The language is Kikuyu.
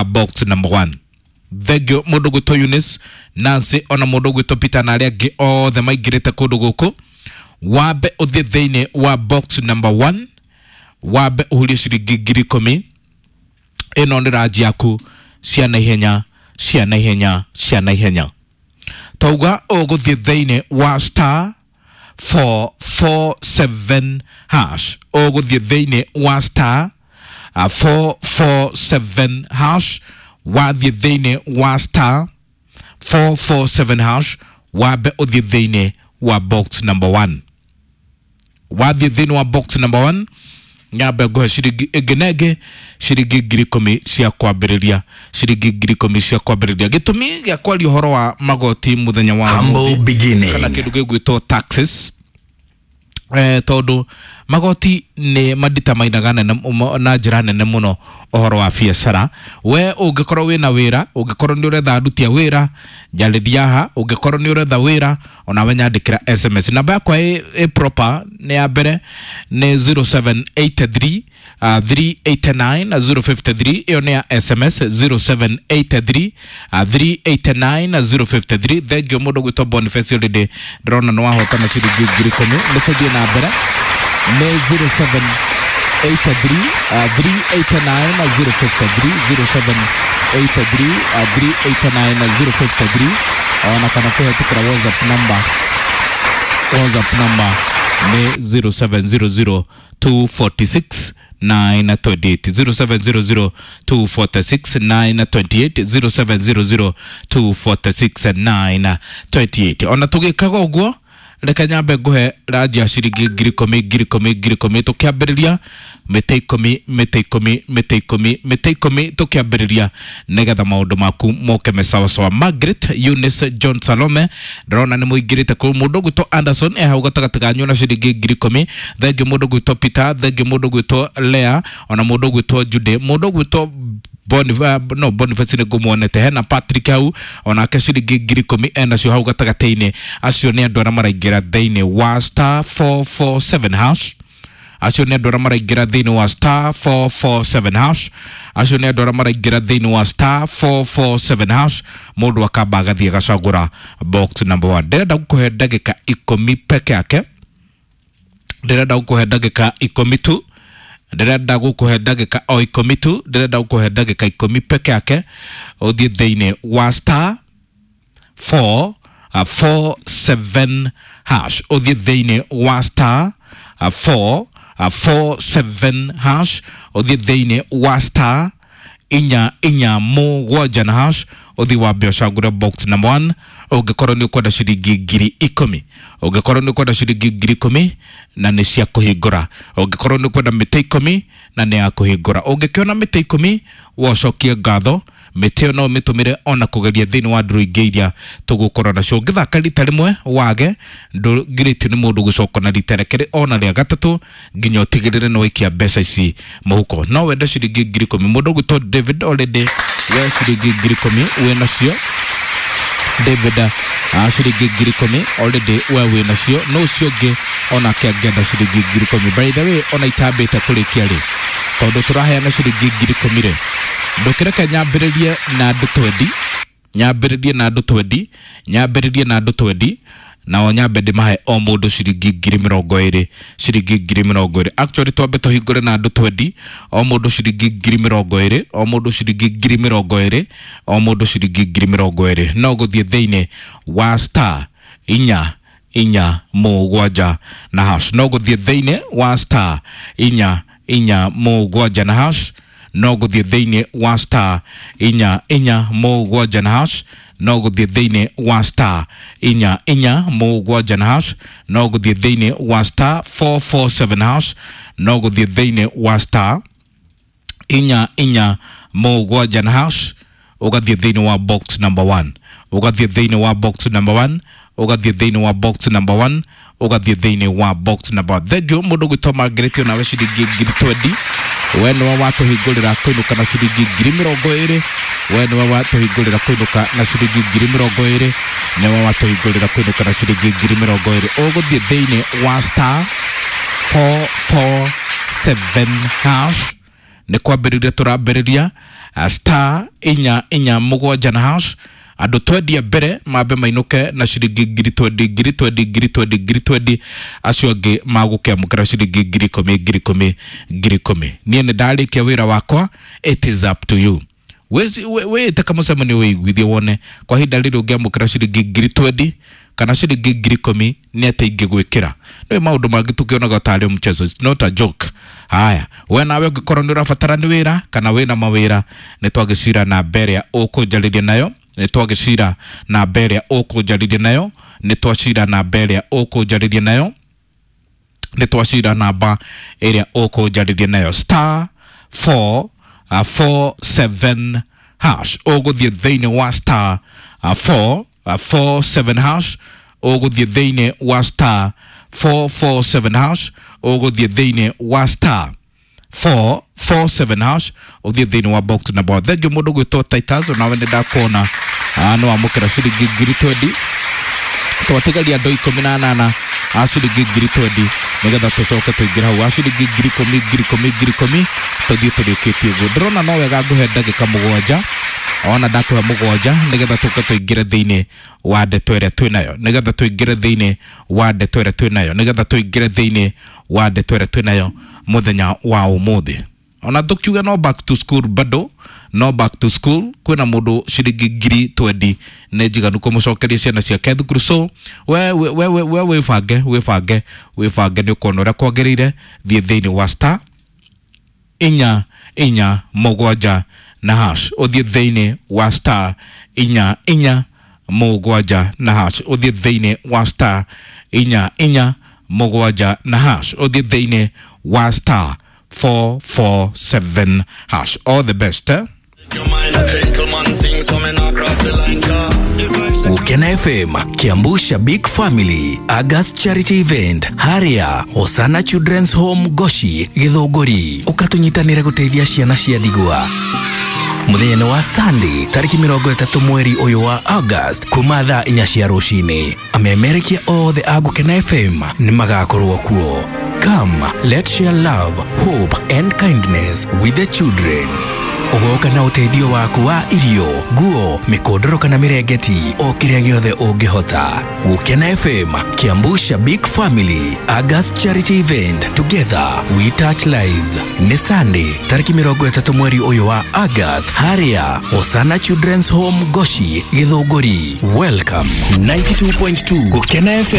Box number 1. Thengio mundu gwitwo Eunice, Nancy, ona mundu gwitwo Peter na aria angi othe maingirite kundu guku. Wambe uthie thiini wa box number 1, wambe uhurie ciringi 10,000. Ino ni ranji yaku cia naihenya, cia naihenya, cia naihenya. Tauga uguthie thiini wa star 447 hash, uguthie thiini wa star 447 hash, wathie thiini wa star 447 hash, wambe uthie thiini wa box number 1. Wathie thiini wa box number 1, nyambe nguhe ciringi ĩngĩ na ĩngĩ, ciringi 10,000 cia kwambĩrĩria, ciringi 10,000 cia kwambĩrĩria. Gĩtũmi gĩa kwaria ũhoro wa magoti mũthenya wa Humble ũmũthĩ, beginning. kana kĩndũ gĩgwĩtwo taxes, tondu magoti nĩ maditamainaga nene na njĩra nene mũno ũhoro wa biacara. We ũngĩkorwo wĩna wĩra, ũngĩkorwo nĩ ũretha aruti a wĩra, njarĩria haha. Ũngĩkorwo nĩ ũretha wĩra, onawe nyandĩkĩra SMS. Namba yakwa ĩ proper nĩ ya mbere nĩ 0783 389 053. Ĩyo nĩ ya SMS, 0783 389 053. Thengio mũndũ gwĩtwo Boniface, already ndĩrona nĩ wahotana ciringi 10,000. Nĩ tũthiĩ na mbere nĩ 0783 389 053, 0783 389 053, ona kana kũhetũkĩra WhatsApp number. WhatsApp number nĩ 0700 246 928, 0700 246 928, 0700 246 928. Ona tũgĩkaga ũguo, reke nyambe nguhe ranji ya ciringi 10,000, 10,000, 10,000, tũkĩambĩrĩria mĩtĩ 10, mĩtĩ 10, mĩtĩ 10, mĩtĩ 10, tũkĩambĩrĩria nĩgetha maũndũ maku moke me sawasawa. Margaret, Eunice, John, Salome, ndĩrona nĩ mũingĩrĩte kũu. Mũndũ gwĩtwo Anderson e hau gatagatĩ kanyu na ciringi 10,000. Thengio mũndũ gwĩtwo Peter, thengio mũndũ gwĩtwo Lea, ona mũndũ gwĩtwo Jude, mũndũ gwĩtwo no Boniface nĩ ngũmuonete. Hena Patrick hau, onake ciringi 10,000 enacio hau gatagatĩ-inĩ. Acio nĩ andũ arĩa maraingĩra thĩinĩ wa star 447 hash. Acio nĩ andũ arĩa maraingĩra thĩinĩ wa star 447 hash. Acio nĩ andũ arĩa maraingĩra thĩinĩ wa star 447 hash. Mũndũ akamba agathiĩ agacagũra box number 1. Ndĩrenda gũkũhe ndagĩka 10 peke yake, ndĩrenda gũkũhe ndagĩka 10 tu, ndĩrenda gũkũhe ndagĩka o 10 tu, ndĩrenda gũkũhe ndagĩka 10 peke yake, ũthiĩ thĩinĩ wa star 4 4 7 hash, ũthiĩ thĩinĩ wa star 4 4 7 hash, ũthiĩ thĩinĩ wa star 4 4 7 na hash, ũthiĩ wambe ũcagũre box number 1. Ũngĩkorwo nĩ ũkwenda ciringi 10,000, ũngĩkorwo nĩ ũkwenda ciringi 10,000 na nĩ cia kũhingũra, ũngĩkorwo nĩ ũkwenda mĩtĩ 10 na nĩ ya kũhingũra, ũngĩkĩona mĩtĩ 10 wocokie ngatho. Mĩtĩ ĩyo no ũmĩtũmĩre ona kũgeria thĩinĩ wa ndũrũ ingĩ iria tũgũkorwo nacio. Ũngĩthaka rita rĩmwe wage, ndũngirĩtio nĩ mũndũ gũcoka na rita rĩa kerĩ ona rĩa gatatũ nginya ũtigĩrĩre nĩ waikia mbeca ici mũhuko. No wende ciringi 10,000. Mũndũ ũgwĩtwo David, already we ciringi 10,000 wĩ nacio. David, ciringi 10,000 already we wĩ nacio. No ũcio ũngĩ onake angĩenda ciringi 10,000? By the way, ona itambĩte kũrĩkia rĩ, tondũ tũraheana ciringi 10,000 rĩ, ndũkĩreke nyambĩrĩrie na andũ 20, nyambĩrĩrie na andũ 20, nyambĩrĩrie na andũ 20, nao nyambe ndĩmahe o mũndũ ciringi 20,000, ciringi 20,000. Actually, twambe tũhingũre na andũ 20, o mũndũ ciringi 20,000, o mũndũ ciringi 20,000, o mũndũ ciringi 20,000. No gũthiĩ thĩinĩ wa star 4 4 7 na hash, no gũthiĩ thĩinĩ wa star 4 4 7 na hash, no gũthiĩ thĩinĩ wa star 4 4 7 na hash, no gũthiĩ thĩinĩ wa star 4 4 7 na hash, no gũthiĩ thĩinĩ wa star 447 hash, no gũthiĩ thĩinĩ wa star 4 4 7 na hash, ũgathiĩ thĩinĩ wa box number 1, ũgathiĩ thĩinĩ wa box number 1, ũgathiĩ thĩinĩ wa box number 1, ũgathiĩ thĩinĩ wa box number 1. Thank you mũndũ gwĩtwo Margaret, onawe ciringi 20,000. We nĩwe watũhingũrĩra kũinũka na ciringi 20,000. We nĩwe watũhingũrĩra kũinũka na ciringi 20,000. Nĩwe watũhingũrĩra kũinũka na ciringi 20,000. Ũgũthiĩ thĩinĩ wa star 447 hash. Nĩ kwambĩrĩria tũrambĩrĩria star 447 na hash. Andũ 20 mbere mambe mainũke na ciringi ngiri 20, ngiri 20, ngiri 20, ngiri 20. Acio angĩ magũkĩamũkĩra ciringi 10,000, 10,000, 10,000. Niĩ nĩ ndarĩkia wĩra wakwa, it is up to you. Wĩte kamũcemanio wĩiguithie wone kwa ihinda rĩrĩ ũngĩamũkĩra ciringi ngiri 20 kana ciringi 10,000 nĩ atĩ ingĩgwĩkĩra. Nĩ maũndũ mangĩ tũkĩonaga tarĩ mchezo. It's not a joke. Haya, we nawe ũngĩkorwo nĩ ũrabatara nĩ wĩra kana wĩna mawĩra, nĩ twagĩcira namba ĩrĩa ũkũnjarĩria nayo, nĩ twagĩcira namba ĩrĩa ũkũnjarĩria nayo, nĩ twacira namba ĩrĩa ũkũnjarĩria nayo, nĩ twacira namba ĩrĩa ũkũnjarĩria nayo, star 4 4 7 hash. Ũgũthiĩ thĩinĩ wa star 4 4 7 hash, ũgũthiĩ thĩinĩ wa star 4 4 7 hash, ũgũthiĩ thĩinĩ wa star 4 4 7 hash, ũthiĩ thĩinĩ wa box number. Thengiũ mũndũ gwĩtwo Titus, onawe nĩ ndakuona nĩ wamũkĩra ciringi ngiri 20. Twatigaria andũ 18 a ciringi ngiri 20 nĩgetha tũcoke tũingĩre hau a ciringi 10,000, 10,000, 10,000, tũthiĩ tũrĩkĩtie ũguo. Ndĩrona no wega ngũhe ndagĩka 7, ona ndakũhe 7 nĩgetha tũke tũingĩre thĩinĩ wa ndeto ĩrĩa twĩnayo, nĩgetha tũingĩre thĩinĩ wa ndeto ĩrĩa twĩnayo, nĩgetha tũingĩre thĩinĩ wa ndeto ĩrĩa twĩnayo mũthenya wa ũmũthĩ. Ona tũkiuga no back to school, bado no back to school, kwĩna mũndũ ciringi ngiri 20 nĩ njiganu kũmũcokeria ciana ciake thukuru. So we we we we wĩbange, wĩbange, wĩbange, nĩ ũkuona ũrĩa kwagĩrĩire. Thiĩ thĩinĩ wa star 447 na hash, ũthiĩ thĩinĩ wa star 447 na hash, ũthiĩ thĩinĩ wa star 447 na hash, ũthiĩ thĩinĩ wa star 447 hash. All the best, eh? Ukena FM, Kiambu Shabik Family, August Charity Event, Haria, Hosana Children's Home Goshi, Githũngũri. Ũkatunyitanĩre gũteithia ciana cia ndigwa. Mũthenya-inĩ wa Sunday tarĩki 30 mweri ũyũ wa August kuma thaa 4 cia rũcinĩ, amemerekia othe a Gũkena FM nĩ magakorwo kuo. Come, let's share love, hope and kindness with the children. Ũgoka na ũteithio waku wa irio, nguo, mĩkondoro kana mĩrengeti, o kĩrĩa gĩothe ũngĩhota. Gũkena FM, Kiambu Shabik Family, August Charity Event, together we touch lives. Nĩ Sunday tarĩki 30 mweri ũyũ wa August, harĩa Hosana Children's Home Goshi, Githũngũri. Welcome. 92.2 Gũkena FM.